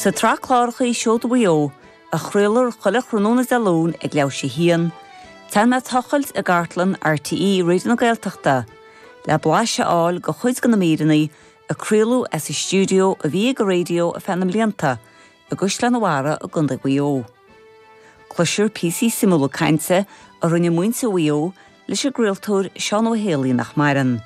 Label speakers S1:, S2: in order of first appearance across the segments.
S1: Sa tsraith cláracha Seoda Mhaigh Eo, a chraolfar chuile thráthnóna Dé Luain ag leathuair théis a haon, déanfaidh mé tochailt i gcartlann RTÉ Raidió na Gaeltachta le blaiseadh a fháil de chuid de na míreanna a craoladh as an stiúideo a bhí ag an raidió ar feadh na mblianta i gCaisleán an Bharraigh i gContae Mhaigh Eo. Cloisfear píosaí suimiúla cainte a rinne muintir Mhaigh Eo leis an gcraoltóir Seán Ó Héalaí nach maireann.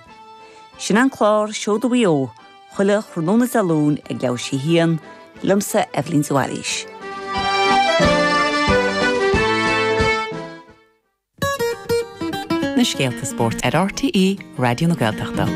S1: Sin an clár Seoda Mhaigh Eo, chuile thráthnóna Dé Luain ag leathuair théis a haon, liomsa Eibhlín de Bhailís.
S2: Na scéalta spóirt ar RTÉ Raidió na Gaeltachta.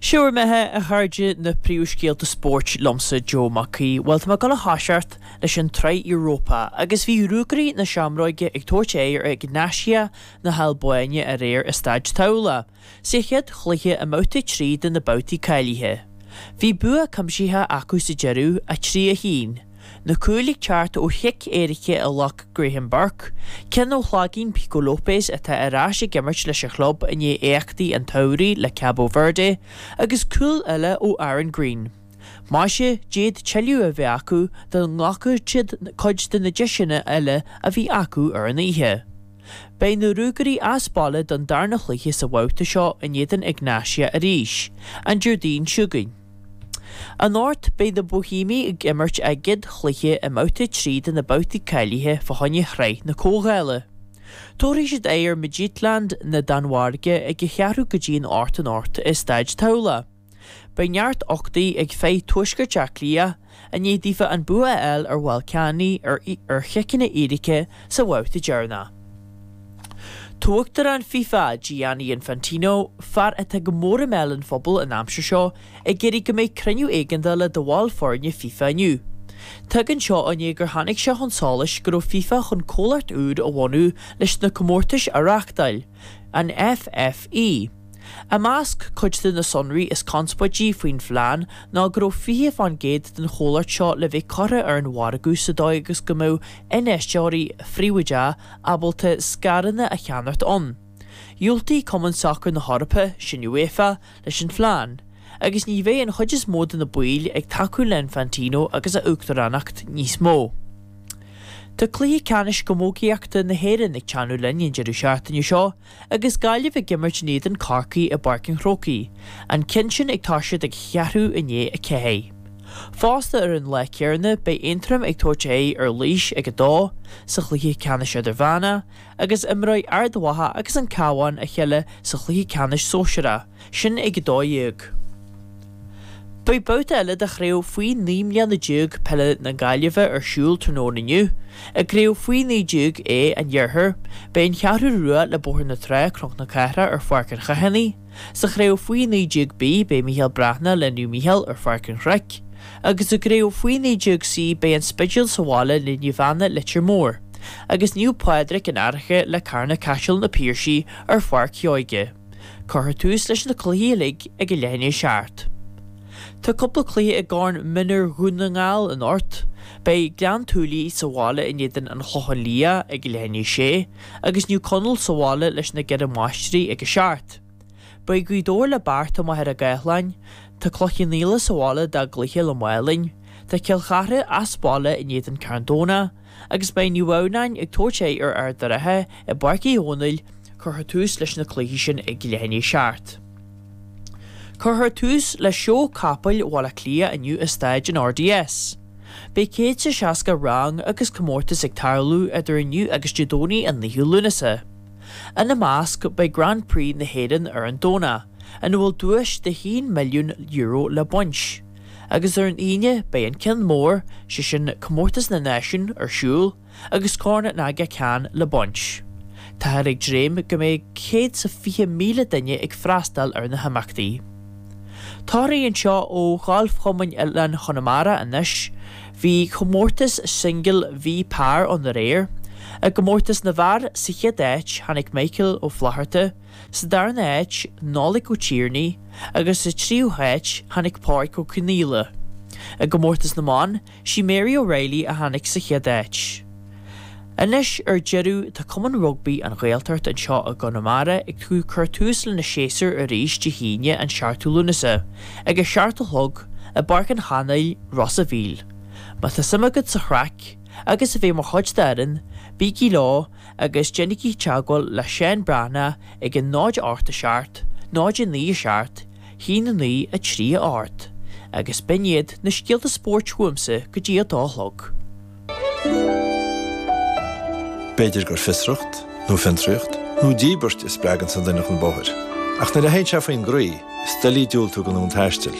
S3: Seo bhur mbeatha, a chairde, na príomhscéalta spóirt liomsa, Joe Mac Aoidh. Bhuel, tá mé ag dul a thoiseacht leis an tSraith Europa agus bhí Ruagairí na Seamróige ag tabhairt aghaidh ar Egnatia na hAlbáine aréir i Staid Tamhlach. Sa chéad chluiche i mbabhta 3 de na babhtaí cáilithe. Bhí bua cuimsitheach acu sa deireadh, 3, 1. Na cúil ag teacht ó chic éirice a ghlac Graham Burke, ceann ó shlaigín Pico Lopes atá ar ais ag imirt leis an chlub i ndiaidh éachtaí an tsamhraidh le Cabo Verde, agus cúl eile ó Aaron Greene. Maise, d'fhéadfadh tuilleadh a bheith acu dá nglacfadh siad cuid de na deiseanna eile a bhí acu ar an oíche. Beidh na Ruagairí as baile don darna chluiche sa bhabhta seo in éadan Egnatia arís, an Déardaoin seo chugainn. Anocht, beidh na Boihéamaigh ag imirt a gcéad chluiche i mbabhta 3 de na babhtaí cáilithe fá choinne Shraith na Comhdhála. Tabharfaidh siad aghaidh ar Midtjylland na Danmhairge ag a cheathrú go dtí an 8 anocht i Staid Tamhlach. Beidh neart uchtaigh ag fir Tuaisceart Átha Cliath i ndiaidh daofa an bua a fháil ar Ballkani ar chiceanna éirice sa bhabhta deireanach. Tá Uachtarán FIFA, Gianni Infantino, fear atá go mór i mbéal an phobail an aimsir seo, ag iarraidh go mbeidh cruinniú éigeandála de bhaill foirne FIFA inniu. Tagann seo i ndiaidh gur tháinig sé chun solais go raibh FIFA chun comhlacht úr a bhunú leis na comórtais a reáchtáil, an FFE. I measc cuid de na sonraí is conspóidí faoin phlean ná go raibh 20% den chomhlacht seo le bheith curtha ar an mhargadh sa dóigh agus go mbeadh infheisteoirí phríobháideacha ábalta scaireanna a cheannacht ann. Dhiúltaigh Cumann Sacair na hEorpa, sin UEFA, leis an phlean, agus ní bheidh an chuid is mó de na baill ag tacú le Infantino agus a uachtaránacht níos mó. Tá cluiche ceannais camógaíochta na hÉireann ag teannadh linn an deireadh seachtaine seo agus Gaillimh ag imirt in éadan Corcaí i bPáirc an Chrócaigh, an ceann sin ag toiseacht ag cheathrú i ndiaidh 4. Fosta ar an lá céanna beidh Aontroim ag tabhairt aghaidh ar Laois ag 2 sa chluiche ceannais idirmheánach agus imreoidh Ard Mhacha agus an Cabhán a chéile sa chluiche ceannais sóisearach, sin ag 12. Beidh babhta eile de chraobh faoi 19 mbliana peile na Gaillimhe ar siúl tráthnóna inniu. I gcraobh faoi 19 A an Iarthair, beidh an Cheathrú Rua le Bóthar na Trá, Cnoc na Cathrach ar Pháirc an Chathánaigh. Sa chraobh faoi 19 B, beidh Mícheál Breathnach le Naomh Mícheál ar Pháirc an Chnoic. Agus i gcraobh faoi 19 C, beidh an Spidéal sa bhaile le Naomh Anna Leitir Móir. Agus Naomh Pádraig an Fhairche le Carna Caiseal na Piarsaigh ar Pháirc Sheoige. Cuirfear tús leis na cluichí uilig ag a leath i ndiaidh a 7. Tá cúpla cluiche i gCorn Mionúir Dhún na nGall anocht. Beidh Gleann tSúilí sa bhaile in éadan An Chlocháin Liath ag a leath i ndiaidh a 6 agus Naomh Conaill sa bhaile leis na gCeithre Máistrí ag a 7. Beidh Gaoth Dobhair le Beartla Machaire Gathlán. Tá Cloich Cheann Fhaola sa bhaile dá gcluiche le Málainn. Tá Cill Chartha as baile in éadan Carn Domhnach. Agus beidh Naomh Adhamhnáin ag tabhairt aghaidh ar Ard an Rátha i bPáirc Uí Dhónaill, cuirfear tús leis na cluichí sin ag leath i ndiaidh a 7. Cuirfear tús le Seó Capaill Bhaile Átha Cliath inniu i Staid an RDS. Beidh 160 rang agus comórtas ag tarlú idir inniu agus Dé Domhnaigh an 9ú Lúnasa. Ina measc beidh Grand Prix na hÉireann ar an Domhnach, ina bhfuil duais de €1 milliún le baint. Agus ar an Aoine beidh an ceann mór, sé sin Comórtas na Náisiún, ar siúl agus Corn an Aga Khan le baint. Táthar ag dréim go mbeidh 120,000 duine ag freastal ar na himeachtaí. Torthaí anseo ó Ghalfchumann Oileáin Chonamara anois. Bhí comórtas singil V Par ann aréir. I gcomórtas na bhfear sa chéad áit tháinig Michael Ó Flatharta, Sa darna háit, Nollaig Ó Tiarnaigh agus sa tríú háit tháinig Pádraig Ó Conaola. I gcomórtas na mban, sí Mary O'Reilly a tháinig sa chéad áit. Anois ar deireadh tá Cumann Rugbaí An Ghaeltacht anseo i gConamara ag cur tús lena séasúr arís Dé hAoine an 7ú Lúnasa ag a 7 a chlog. i bPáirc an Chanáil, Ros a' Mhíl. Má tá suim agat sa chraic agus a bheith mar chuid d'fhoireann, bígí leo agus déanaigí teagmháil le Seán Breathnach ag 0 8 7 0 9 7 1 9 3 8 Agus b'in iad na scéalta spóirt uaimse go dtí a dó a chlog.
S4: B'fhéidir gur fiosracht, nó fiontraíocht, nó díbirt a spreaganns an duine chun bóthair. Ach nuair a théann sé faoin gcroí, is doiligh diúltú don fhonn taistil.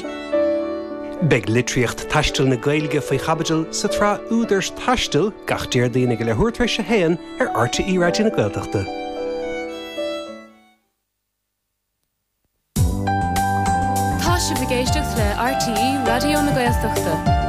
S5: Beidh litríocht taistil na Gaeilge faoi chaibidil sa tsraith Údair Taistil gach Déardaoin ag a leathuair tar éis a haon ar RTÉ Raidió na Gaeltachta.
S6: Tá sibh ag éisteacht le RTÉ Raidió na Gaeltachta.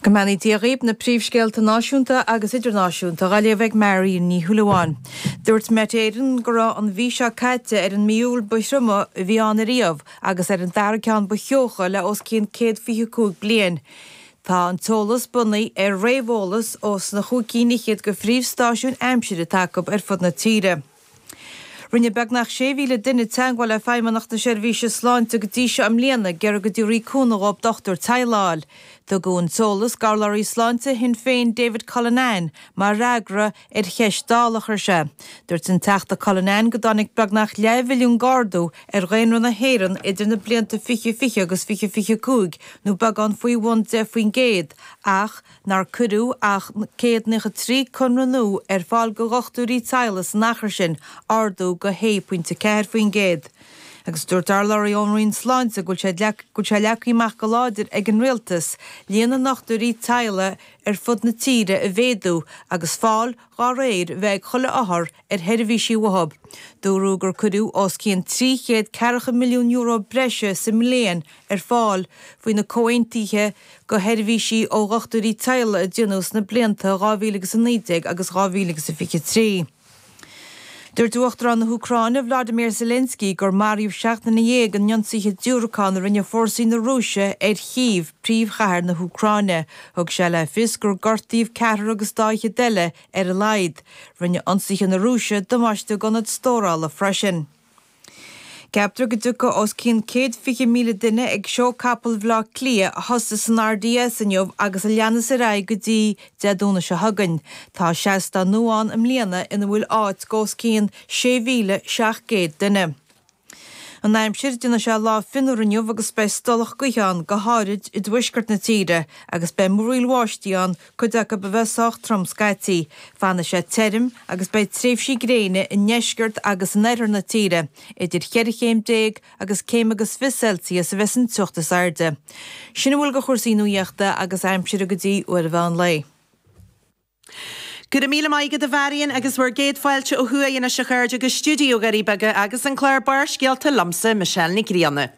S7: Go mbeannaí Dia dhaoib, na príomhscéalta náisiúnta agus idirnáisiúnta á léamh ag Marion Ní Shúilleabháin. Dúirt Met Éireann go raibh an mhí seo caite ar an mí Iúil ba thrioma a bhí ann ariamh agus ar an dara ceann ba theocha le os cionn 125 bliain. Tá an t-eolas bunaithe ar réamheolas ós na chúig cinn fhichead de phríomhstáisiúin aimsire atá acu ar fud na tíre. Rinne beagnach 6,000 duine teagmháil le Feidhmeannacht na Seirbhíse Sláinte go dtí seo i mbliana ag iarraidh go dtabharfaí cúnamh dhóibh dochtúir teaghlaigh a fháil. Tugadh an t-eolas d'urlabhraí sláinte Shinn Féin David Cullinane mar fhreagra ar cheist Dála a chuir sé. Dúirt an Teachta Cullinane go dtáinig beagnach leathmhilliún d'ardú ar dhaonra na hÉireann idir na blianta 2020 agus 2025, nó beagán faoi bhun 10%, ach nár cuireadh ach 193 conradh nua ar fáil do dhochtúirí teaghlaigh san achar sin, ardú de 6.4%. Agus dúirt urlabhraí ón Roinn Sláinte go bhfuil sé leagtha amach go láidir ag an Rialtas líon na ndochtúirí teaghlaigh ar fud na tíre a mhéadú agus fáil dá réir a bheith ag chuile othar ar sheirbhísí uathu. Dúradh gur cuireadh os cionn €340 milliún breise sa mbliain ar fáil faoi na comhaontuithe do sheirbhísí ó dhochtúirí teaghlaigh a déanadh sna blianta 2019 agus 2023. Dúirt Uachtarán na hÚcráine, Vladimir Zelensky, gur maraíodh 17 nduine in ionsaithe diúracán a rinne fórsaí na Rúise ar Chív, príomhchathair na hÚcráine. Thug sé le fios gur gortaíodh ceathrar agus dá fhichead eile ar a laghad. Rinne ionsaithe na Rúise damáiste d'ionad stórála freisin. Ceaptar go dtiocfaidh os cionn 120,000 duine ag Seó Capall Bhaile Átha Cliath a thosaigh san RDS inniu agus a leanas ar aghaidh go dtí Dé Domhnaigh seo chugainn. Tá seastán nua ann i mbliana ina bhfuil áit d'os cionn 6,700 duine. An aimsir, Déanfaidh sé lá fionnuar inniu agus beidh stolladh gaoithe ann, go háirid i dtuaisceart na tíre, agus beidh múraíl bháistí ann, cuid acu a bheith sách trom scaití. Fanfaidh sé tirim agus beidh tréimhsí gréine i ndeisceart agus in oirthear na tíre. Idir cheithre chéim déag agus céim agus 20 Celsius a bheas an teocht is airde. Sin a bhfuil de chúrsaí nuaíochta agus aimsire go dtí uair an mheán lae.
S8: Go raibh míle maith agat a Mharion agus bhur gcéad fáilte ó thuaidh anois a chairde go stiúideo Dhoirí Beaga agus an clár Barrscéalta liomsa, Michelle Nic Grianna.